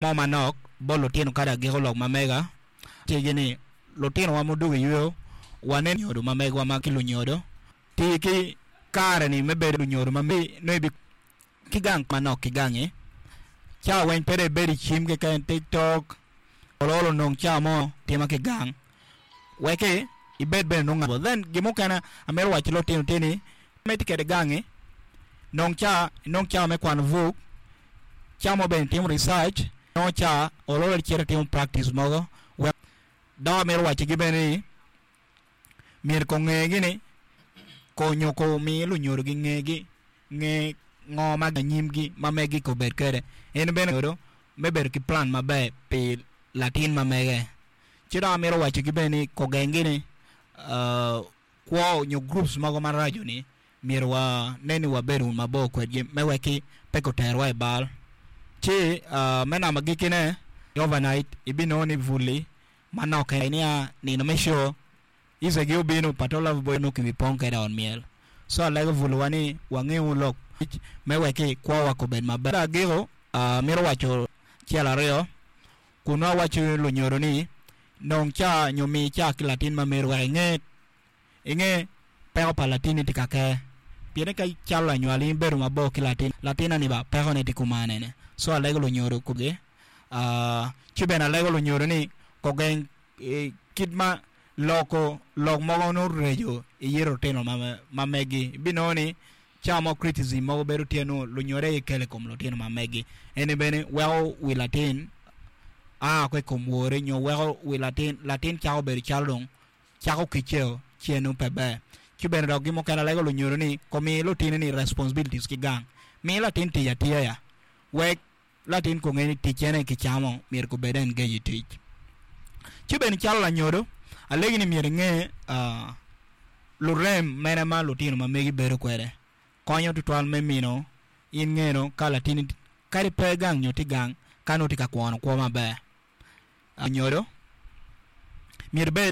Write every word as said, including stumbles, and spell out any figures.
Mo manok bot lutino kadi agiko lok ma mega tye ni lutinowa mudwogo i yweyo wane nyodo ma megwa ma ki lunyodo ti ki kare-ni me bedo lunyodo ma nongo ki gang manok ki gangi ca weng pe dong ibedo i cim keken tiktok olo onong ca mo tima ki gang weki ibed bene nongo then gin mukene amito waco ki lutino tye ni ma itye kwede gangi nong ca inong ca me kwano buk ca mo bene itimo research nongo ca olo icito itimo practice mogo wek dok amito wacigi bene ni myero ko ngegi ni nyo ko mi lunyodogi ngegi nge ngo ma anyimgi ma megi ko bed kwede en bene me bedo ki plan maber pi latin ma mege ci dok amito wacigi bene ni kogengi ni kwo nyo groups mogo maraco ni myero wane ni wabedo mabor kwedgi me weki pe koterwa i bal ci me namba agikine overnight ibinongo ni buli manok nia nino me show Icegi obino Pato Love Boy nongo kibipong kwede i ot myel so alego buliwa ni wangewu lok me weki kwowa kobed maber agiko amito waco acel aryo kun nongo awaco lunyodo ni nong ca nyo mi ca ki latin ma meri wek inge inge peko pa latinni tye ka ke pien ka calo lanywal in ibedo mabor ki latin latinna ni ba pekone tye kumanene so alego lunyodo kugi ci bene alego lunyodo ni kogeng kit ma loko lok mogo nongo reco i yito lutino ma megi ibinongo ni ca mo criticism mogo bedo tye nongo lunyodo aye kelo i kom lutino ma megi eni bene weko wi latin a woko i kom wore nyo weko wi latin latin cako bedo calo dong cako kiceo ci nongo pe ber ci bene dok gin mukene alego lunyodo ni komi lutini responsibilities ki gang mi latin tic atiya ya wek latin ko nge ni ticcene kicamo myero kobed engage i tic ci bene calo lanyodo alegi ni myero inge lurem mene ma lutino ma megi bedo kwede konyo tutwal me mino in ngeno ka latini kadi pe gang nyo tye gang ka nongo tye ka kwono kwo maber anyodo myero ibed